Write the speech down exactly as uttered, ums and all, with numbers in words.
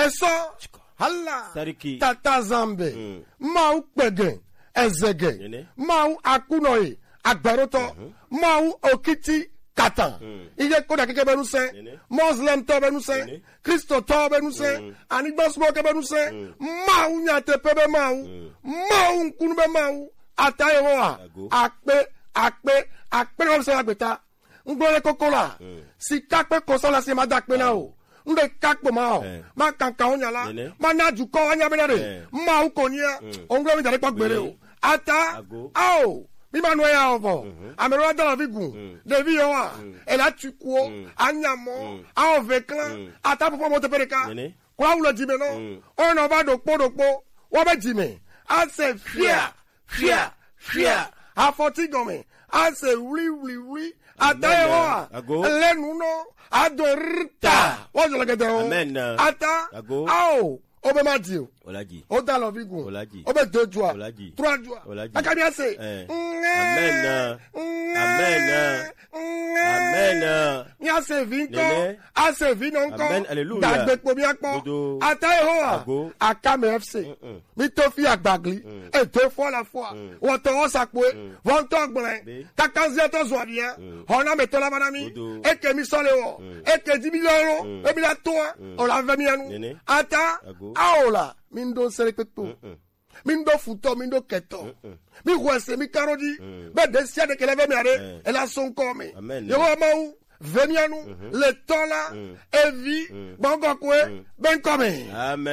sɔ, hala, Sariki. Tata Zambe, Mm. Mawu kpege, ezege, Nene. Mawu akunɔye, agbɛrotɔ, Mhm. Mawu okiti katan. Mm. Iye koda keke be nusɛ, Nene. Muslim tɔ be nusɛ, Nene. Kristo tɔ be nusɛ, Mm. anigba sumɔ ke be nusɛ, Mm. Mawu nyateƒe be Mawu, Mm. Mawu ŋkunu be Mawu, ata Yehowa, Ago. akpe, akpe, akpe na wo se agbeta. Ŋgblɔ le koko la, Mm. sika kpe kɔsa la si ma da kpe na o. Ŋɖe ka kpo ma o. Eh. Ma kankan o nya la. Nene. Ma na dukɔ wa nya be na de. Eh. Ma o ko nya. Mm. O ŋgblɔ mi da le kpɔ gbere o. Nene. Ata. Ago. Ao. Mi ma nɔ ya o vɔ. Mhm. Ame ɖewo da la vi gun. Mm. Ɖevi yɔ wa. Mm. Ela tu kuo. Mm. Anya mɔ. Mm. Ao ve klan. Mm. Ata popo mo te pe ɖeka. Nene. Kura wulɔ dzi me nɔ. Mm. O nɔ va ɖokpo ɖokpo. Wo be dzi me. Ase fia. Fia, fia, afɔti gɔme, ase wli, wli, wli, ata Amen. Yehowa, Ago. Le nu nɔ, ado rta, wa jɔ le gɛdɛ o. Amen. Ata, Ago. Ao, o be ma di o. O la di. O da lɔ vi gun. O la di. O be do jua. O la di. Tura jua. O la di. Aka mi ase. Eh. Amen. Amen. Amen. Mi ase vi ŋkɔ. Nene. Ase vi nɔ ŋkɔ. Amen. Hallelujah. Dagbe kpo mi akpɔ. Dodo. Ata Yehowa. Ago. Aka me F C. Mm-mm. Mi to fi agbagli. Mm. E deux fois la foi. Mm. Wɔtɔ wɔ sakpoe. Mm. Wɔtɔ gblẽ. Be. Kakanzia tɔ zɔ bia. Mm. Hɔna me tɔ la bana mi. Dodo. Eke mi sɔ le wɔ. Mm. Eke di mi lɔ lo. Mm. E mi la to. Mm. O la ve mi anu. Nene. Ata. Ago. Aola. Mi ndo sere kpekpe. Mm-mm. Mi ŋɖo futɔ, mi ŋɖo kɛtɔ. Mm-mm. Mi xɔe se, mi ka ɖo dzi. Mm. Be ɖe sia ɖe ke le ve mia ɖe, Eh. ela so ŋkɔ me. Amen. Yehowa Mawu, ve mia nu, Mhm. le tɔ la, Mm. evi, Mm. gbɔgbɔ kɔe, Mm. be ŋkɔ me. Amen.